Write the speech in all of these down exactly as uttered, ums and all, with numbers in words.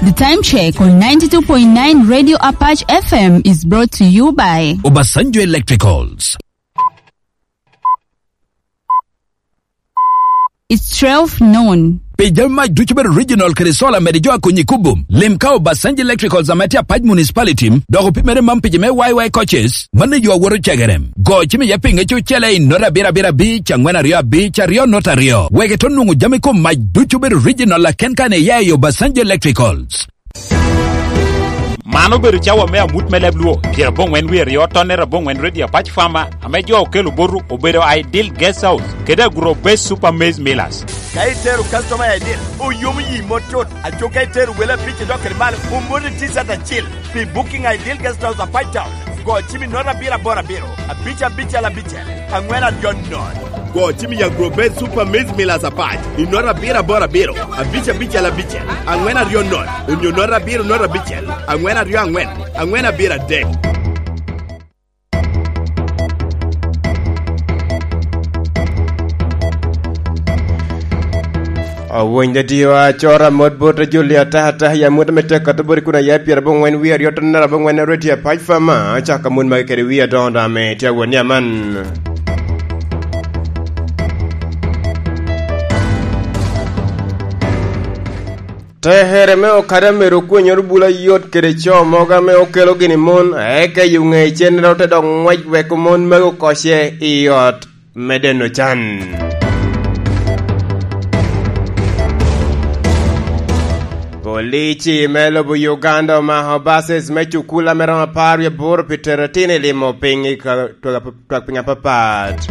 The time check on ninety-two point nine Radio Apache F M is brought to you by Obasanjo Electricals. It's twelve noon. Pi jami mac ducu bedo regional kede solar mede jo a konyi kubum. Lim ka Obasanjo Electricals ame tye Apac Municipality, dok opimere man pi jo me Y Y coaches, mano yo awoto cegerem. Go cim iye pinge cucele i nota abiro abiro abic, angwen aryo abic, aryo nota aryo. Wek ito nwoŋo jami kom mac ducu bedo regional aken kan iya i Obasanjo Electricals. Man obedo cawa me amut me leb Luo, pyerabongwen wie aryo tonne rabongwen Radio Apac Farmer, ame jo okelo botu obedo Ideal Guest House, kede Agro Base Super Maize Millers. Ka itero customer i Ideal, oyomo yi mot tut. Aco ka itero wele abic idok kede malo, omoti T-shirt acil. Pi booking Ideal Guest House Apac Town, go cim i nota abiro aboro abiro, abic abicel abicel, angwen aryo nono. Go cim i Agro Base Super Maize Millers Apac, i nota abiro aboro abiro, abic abicel abicel, angwen aryo nono, onyo nota abiro nota abicel, angwen aryo angwen, angwen abiro adek. Awony dadiwa, acora mot bot Julia Tata, ya mot me tek kata bot kun aya pyerabongwen wie aryo tonne rabongwen Radio Apac Farmer, acaka mot magi kede wie adoŋo doŋ ame tye awot ni aman. Tekere me okada myero okwenyoro bula yot kede co mogo ame okelo gini mon, eka i ŋe cennere ote dok ŋwec weko mon magi okoce i ot me deno can. Polici me lobo Uganda omako bases me cukul ame romo apar wie aboro pi tero itino i limo piny i ka-, twak twak piny apapat.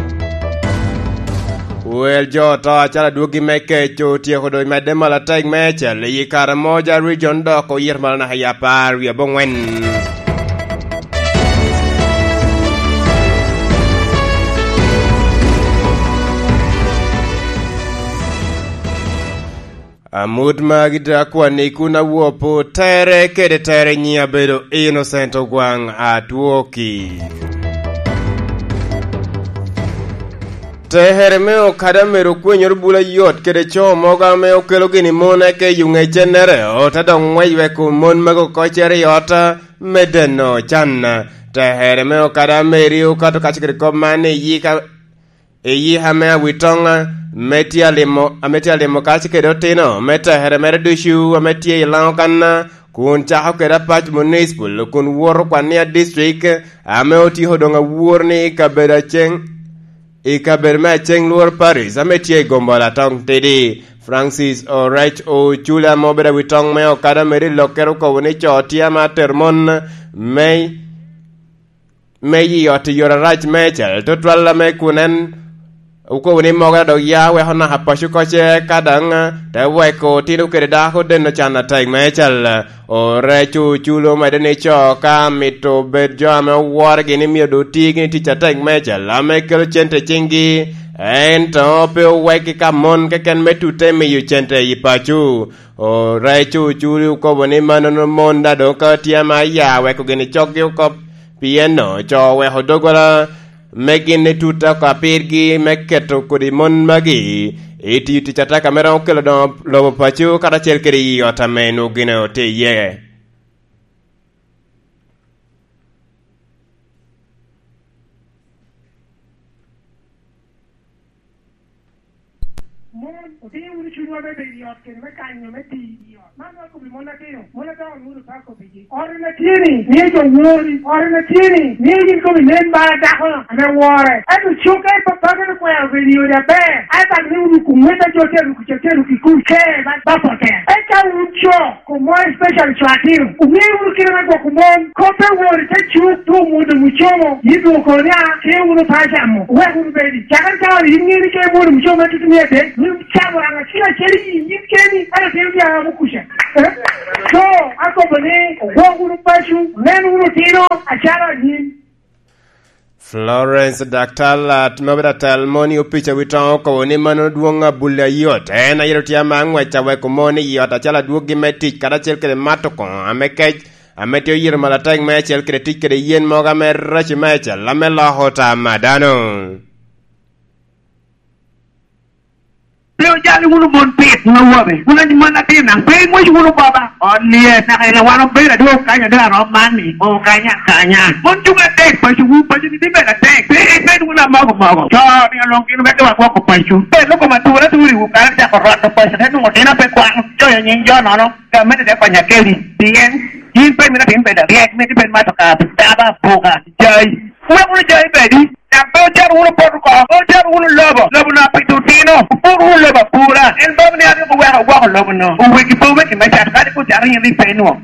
Wel jo oto acalo adwogi me kec otyeko doŋ medde malo atek meicel i kare moja region dok oyito malo naka i apar wie abongwen. Amut magi dok akwanni kun awopo tere kede tere nyiŋ abedo Innocent Ogwaŋ Atwoki. Tekere me okada myero okwenyoro bula yot kede co mogo ame okelo gini mon eke i ŋe cennere, ote dok ŋwec weko mon magi okocere i ot me deno can. Tekere me okada meri okato kaco kede kop man i yika Eyi ame awitoŋ, ame tye alimo, ame tye alimo kacel kede otino me tekere mere ducu ame tye i Laŋo kan, kun cako kede Apac Municipal, kun woto Kwania District, ame otyeko doŋ awor ni i kabedo Aceŋ, i kabedo me Aceŋ Lworo Parish, ame tye i Gombola Toŋ Tidi. Francis Orec Oculi, ame obedo awitoŋ me okada meri i Lokkere, okobo ni co tye ame atero mon me me i ot i yore arac meicel, tutwal ame kun en okobo ni mogo dok ya weko naka paco koce ka daŋ te weko otino kede dako deno can atek meicel. Orec Oculi omedde ni co ka mito bed jo ame oworegi ni myero doŋ oti gini tic atek meicel ame kelo cente i ciŋgi, ento pe owekgi ka mon keken me tute miyo cente i paco. Orec Oculi okobo ni mannono mon daŋ doŋ ka tye ame aya weko gini coggi oko, pien co oweko doggola me gin i tut oko apirgi me keto kodi mon magi i tiyo tic ataka ame romo kelo doŋo lobo paco karacel kede i ot ame nwoŋo gin otye iye. Mon, otiyo wunu cunywa me bedo i ot kede me kanyo me tiyo i ot. Man dok obi mon atino, mon adongo wunu pako pigi. Ot en atye-ni, mio jo wori. Ot en atye-ni, mio yin komi nen bala dako ame wore. Ento cuk ka i papageno kwero bedo i odi aber, ai bak ni wunu ku ŋwec a jo te ruki, ca te ruki kun ke ba, ba pote. Eka wun co, Komo especially co atino, oŋeo wunu kite me gwoko mon. Kop pe wor i te cuk, doŋ omwodo mucomo, yin doŋ okobo ni, "A, ke wunu pa acamo, wek wunu bedi." Cakere cawa-ni, yin ŋeo ni ke imwodo mucomo me tutumia adek, yin icamo raŋ acel acel i yin keni, ento tino tye a amo kuca. Eh? So, akobo ni, ogwok wunu paco, onen wunu otino, acalo anyim. Florence Daktalat, ma obedo atel moni opic awitoŋo, okobo ni mano dwoŋ abulli ayot. En ayero tye ame aŋwec aweko mon i ot acalo adwoggi me tic karacel kede mato koŋo ame kec, ame tye oyito malo atek meicel kede tic kede yen mogo ame reco meicel ame loko tam a dano. Pe ojali wunu mon pit ma wabe. Wun a mon atin daŋ pe iŋwec wunu baba. Ot lyet naka ila wan obedo adwogo kanya dok arom man ni. O kanya, kanya. Mon cuŋ adek paco wu, paco ni tye bedo atek. Pe ibed wunu amogo mogo. Co ni alwong gin wek wa gwoko paco. Pe loko ma tura turi wu kare cako roto paco te nwoŋo tin ape kwano. Coyo nying jo nono. Gamente te konya kedi. Pien yin pe mito tin bedo aryek, mito bed mato ka, daba, buka, jai. Wek wunu jai bedi, dok pe ocero wunu poto oko, pe ocero wunu lobo, lobo na pi tutino, opur wunu lobo apura. En bam ni aryeko weko gwoko lobo no, owegi pe oweki me cat, kadi kun cat yin rik pe inwoŋo.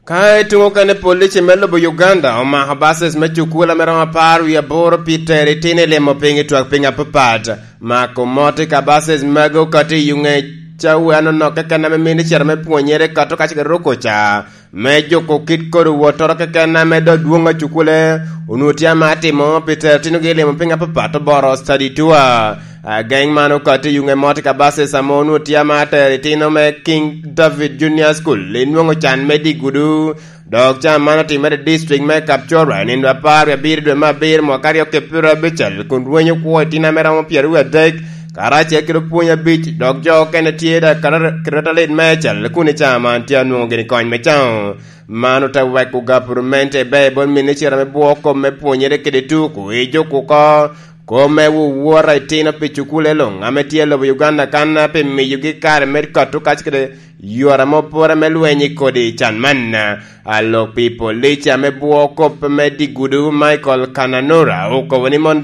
Ka i tuŋ okene, police me lobo Uganda omako bases me cukula me romo apar wie aboro pi tero itino i limo piny i twak piny apapat. Mako mot i ka bases magi okati i yuŋe cawa anonok keken ame mito cito me pwonyere kato ka cik eruko ca. Me juko kit kodi wottoro keken ame dok dwoŋ a cukule, onwoŋo tye ame atimo pi tero tinogi i limo piny apapat oboro study tour. Ageŋ man okati i yuŋe mot i ka bases ame onwoŋo tye ame atero itino me King David Junior School, inwoŋo can me digudu. Dok can man otimere i district me Kapchorwa i nino apar wie abiro dwe me abiro mwaka aryo ki pyeraryo abicel, kun rweny okwo itino ame romo pyeraryo wie adek, karacel kede opwony abic, dok jo okene tye daŋ karata-, karata lit meicel kun i can man tye anwoŋo gini kony me caŋo. Man ote weko gapurmente i bot minicita me bwoko me pwonyere kede tuko i juko oko kop me wowota itino pi cukule luŋ ame tye i lobo Uganda kan pi miyogi kare me kato kac kede yore ame opore me lweny i kodi can man. Alok pi police ame bwoko kop me digudu Michael Kananura okobo ni mon,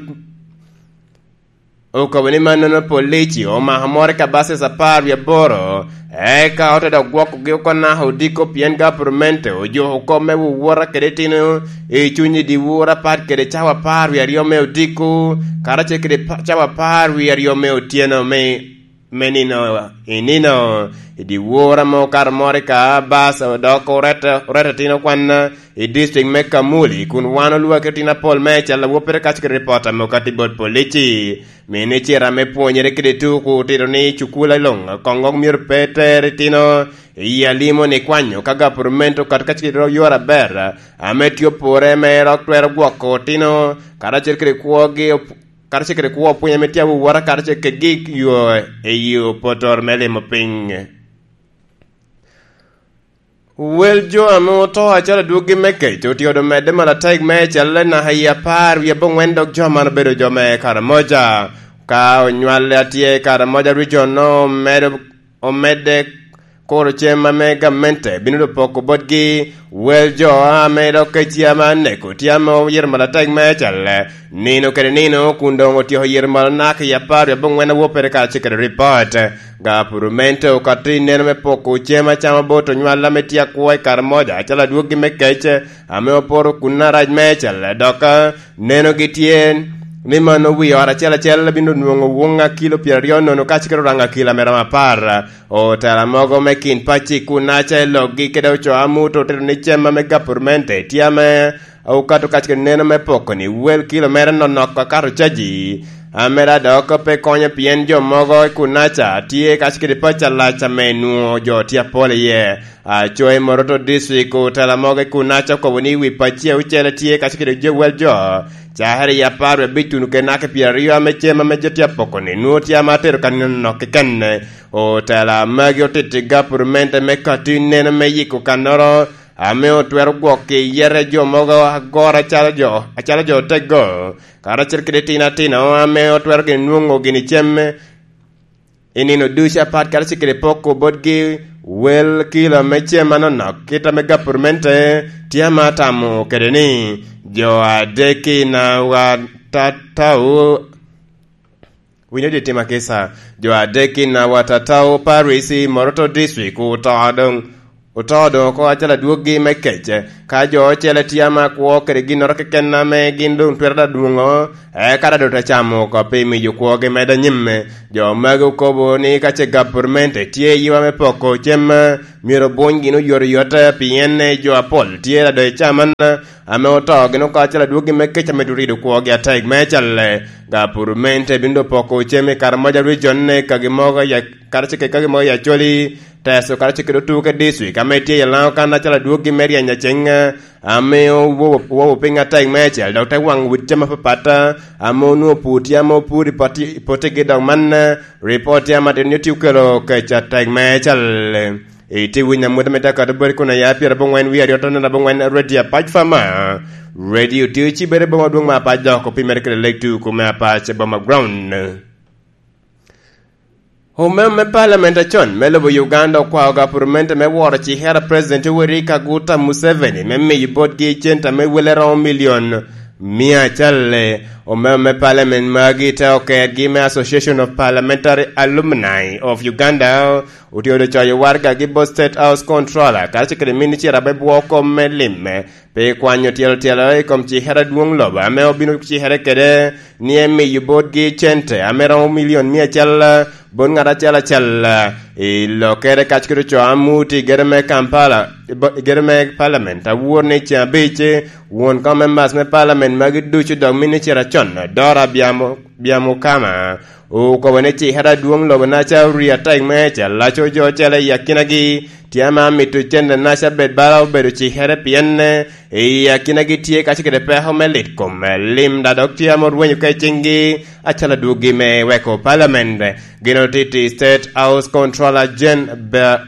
okobo ni mannono police omako moro i kabases apar wie aboro, eka ote dok gwokogi oko naka odiko pien gapurmente ojuko kop me wowota kede itino i cuny i dyewor apat kede cawa apar wie aryo me odiko, karacel kede pa-, cawa apar wie aryo me otyeno me me nino i nino. I dyewor ame okato moro i ka bas odok orette, orette tino kwan i district me Kamuli, kun wan olwaki tino apol me cal awoppere kac kede ripot ame okatti bot polici. Minicita me pwonyere kede tuku otito ni cukula luŋ koŋ myero pe ter itino i alimo ni kwanyo ka gapurumento kato kac kede yore aber ame tye opore me rok twero gwoko otino karacel kede kwogi op-, karacel kede kwo pwiny ame tye awowota karacel kedgi yo i yo potor me limo piny. Wel jo ame oto acalo adwoggi me kec otye odo medde malatek me celle naka i apar wie abongwen, dok jo man obedo jo me Karamoja. Ka onywale atye i Karamoja region no omedo, omedde kuro cem ame gamente bino dok poko botgi. Wel jo ame dok kec ame aneko tye ame oyito malatek me celle nino kede nino, kun doŋ otyeko yito malo naka i apar wie abongwen awoppere karacel kede ripot. Gapurumento okato i neno me poko cem acama bot onywal ame tye akwo i Karamoja acalo adwoggi me kec ame oporo kun arac me celle, dok nenogi tye ni mano wi ot acel acel bino nwoŋo woŋ a kilo pyeraryo nono kacel kede oraŋo a kilo ame romo apar. Otela mogo me kin pacci kun aca i lokgi kede ocoo amut otito ni cem ame gapurmente tye ame okato kac kede neno me poko ni wel kilo mere nonok akato caji. Amera dok pe konyo pien jo mogo i Kunaca tye kac kede paco alac ame nwoŋo jo tye apol iye. Acoa i Moroto District, otela mogo i Kunaca okobo ni wi pacci aucel tye kac kede jo wel jo. Cakere i apar wie abic tuno kede naka pyeraryo ame cem ame jo tye apoko ni nwoŋo tye ame atero ka nino nonok keken. Otela magi otito i gapurmente me kati neno me yiko kannoro ame otwero gwok i yete jo mogo agoro acalo jo, acalo jo oteggo, karacel kede tino atino ame otwero gin nwoŋo gini cem i nino ducu apat karacel kede poko botgi wel kilo me cem anonok kit ame gapurmente tye ame atamo kede ni jo adek i Nawatatau. Winyo di tim akisa, jo adek i Nawatatau Parish i Moroto District oto doŋ, oto doŋ oko acalo adwoggi me kec. Ka jo ocele tye ame akwo kede ginnoro keken ame gin doŋ twero da dwoŋo, eka da doŋ te camo oko pi miyo kwogi medo anyim. Jo magi okobo ni ka ce gapurmente tye i yiwa me poko cem, myero obuny gin oyotoyot, pien jo apol tye da doŋ i caman ame oto gin oko acalo adwoggi me kec ame durido kwogi atek me calle. Gapurmente bino doŋ poko cem i Karamoja Region, kagi mogo ya-, karacel kede kagi mogo i Acholi, Teso karacel kede otuke dictrik ame tye i Lango kan acalo adwoggi me ryeny aceŋ, ame owo-, owowo piny atek meicel, dok te waŋo wit jami apapat, ame onwoŋo pur tye ame opur i poti-, i potigi, dok man, ripot tye ame atin nyo tye okelo kec atek meicel. Itye winyo amut ame tye akato boti kun aya pyerabongwen wie aryo tone abongwen Radio Apac Fama. Radio tye ocibere boma dwong me Apac dok opimere kede Lake Two kome Apac boma ground. Omem me Parliament acon me lobo Uganda okwao gapurmente me woro cikere a President Yoweri Kaguta Museveni me miyo botgi cente me wele romo milion mia acalle. Omem me Parliament magi te okergi me Association of Parliamentary Alumni of Uganda otye odo coyo wargagi bot State House Controller kacel kede minicita me bwo kom me limme pi kwanyo tyelo tyelo i kom cikere adwoŋ lobo ame obino cikere kede ni emiyo botgi cente ame romo milion mia acel bot ŋat acel acel i lokere kac kede ocoo amuti i gere me Kampala, i bo-, i gere me Parliament awor ni ceŋ abic won kom members me Parliament magi ducu dok minicita acon Dora Byamo-, Byamukama okobo ni cikere adwoŋ lobo naca orio atek me cel laco jo ocele i akinagi tye ame amito cente naca bed bala obedo cikere pien i akinagi tye kacel kede peko me lit kom lim da dok tye ame orwenyo ka i ciŋgi acalo adwoggi me weko Parliament. Gin otiti State House Controller Jane Ba-,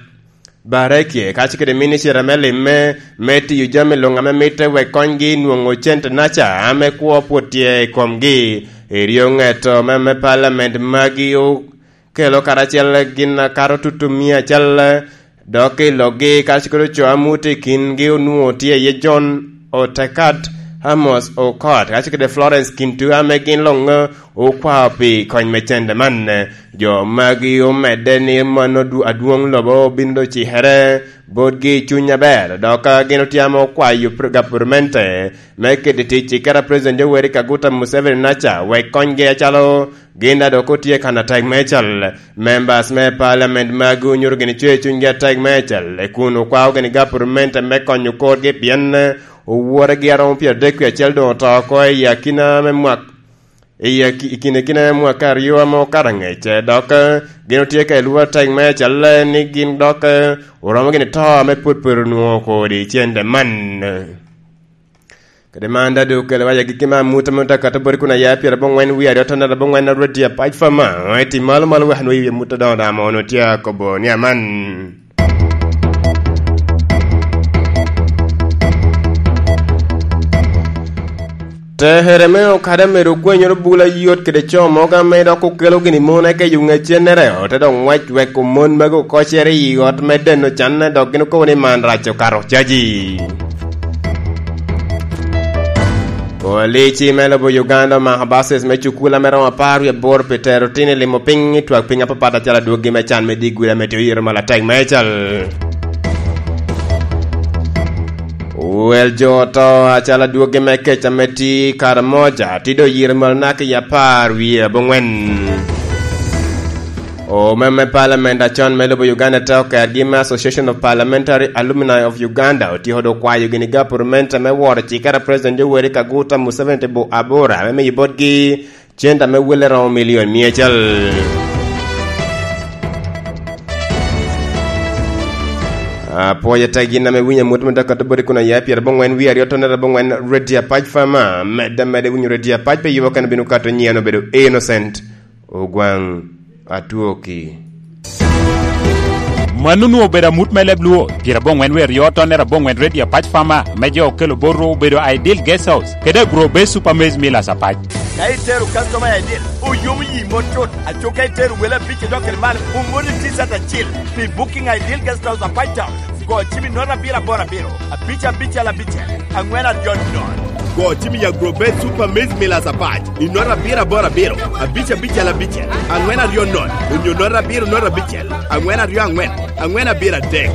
Barekye kacel kede minicita me limme me tiyo jami luŋ ame mitte wek konygi nwoŋo cente naca ame kwo pwod tye i komgi. Eryo ŋeto me, me Parliament magi okelo karacel gin akato tutu mia acel, dok i lokgi kacel kede ocoo amuti i kingi onwoŋo tye iye John Otekat, Amos Okot, kacel kede Florence Kintu ame gin luŋ okwao pi kony me cente man. Jo magi omedde ni mano dwo-, adwoŋ lobo obino doŋ cikere botgi i cuny aber, dok gin otye ame okwayo pr-, gapurmente me keto i tic cikere a President Yoweri Kaguta Museveni naca wek konygi acalo gin a dok otye kan atek meicel. Members me Parliament magi onyuto gini cwer cunygi atek meicel, kun okwao gini gapurmente me konyo korgi pien oworegi aromo pyeradek wie acel doŋ oto oko i akina me mwak, i aki-, i kine kine mwaka aryo ame okato angec, dok gin otye ka elwor atek meicel ni gin dok oromo gini to ame pwod pwod onwoŋo kodi i cente man. Kede man, dado okelo waya gigi me amut ame ote akato boti kun aya pyerabongwen wie aryo tone abongwen a Radio Apac Fama, iti malo malo wek anwoyi wi amut adoŋo daŋ ame onwoŋo tye akobo ni aman. Tekere me okada mere ogwenyoro bula yot kede co mogo ame dok okelo gini mon eke yo ŋec cennere, ote dok ŋwec weko mon magi okocere i ot me deno canne, dok gin okobo ni man rac okato caji. Polici me lobo Uganda omako bases me cukul ame romo apar wie aboro pi tero tin i limo piny i twak piny apapat acalo adwoggi me can me digwira me tye oyito malatek meicel. Wel jo oto acalo adwoggi me kec ame tye i Karamoja tye doŋ oyito malo naka i apar wie abongwen. Omem me Parliament acon me lobo Uganda te okergi me Association of Parliamentary Alumni of Uganda otyeko doŋ kwayo gini gapurmente me woro cikere a President Yoweri Kaguta Museveni te bo abora me miyo botgi cente ame welle romo milion mia acel. Apwoyo tek gin ame winyo amut me dok ato boti kun aya pyerabongwen wie aryo tone abongwen Radio Apac Fama, medde medde winyo Radio Apac pe yubo kene bino kato nyieno bedo Innocent Ogwaŋ Atwoki. Mano onwoŋo obedo amut me leb Luo, pyerabongwen wie aryo tone abongwen Radio Apac Fama, me jo okelo bot ru obedo Ideal Guest House, kede Agro Base Super Maize Millers Apac. Ka itero customer I D, oyomo yi mot cut. Aco ka itero wele abic idok kede malo, omoni T-shirt acil pi Booking Ideal Guest House Apac Town. Go cim i note abiro aboro abiro, abic abicel abicel, angwen aryo nono. Go cim i Agro Base Super Maize Millers Apac i note abiro aboro abiro, abic abicel abicel, angwen aryo nono, onyo note abiro note abicel, angwen aryo angwen, angwen abiro adek.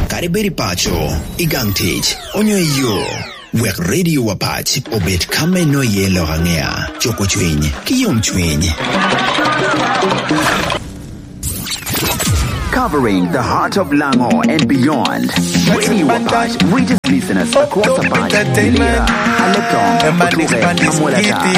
Kadi bed i paco, i gang tic, onyo i yo, wek Radio Apac obed ka me nwoyo iye lok aŋea, cuko cwiny, ki yomcwiny. Covering the heart of Lango and beyond. Radio Apac reaches listeners across Apac, Lira, Aleptong, Otuke, Amwelata,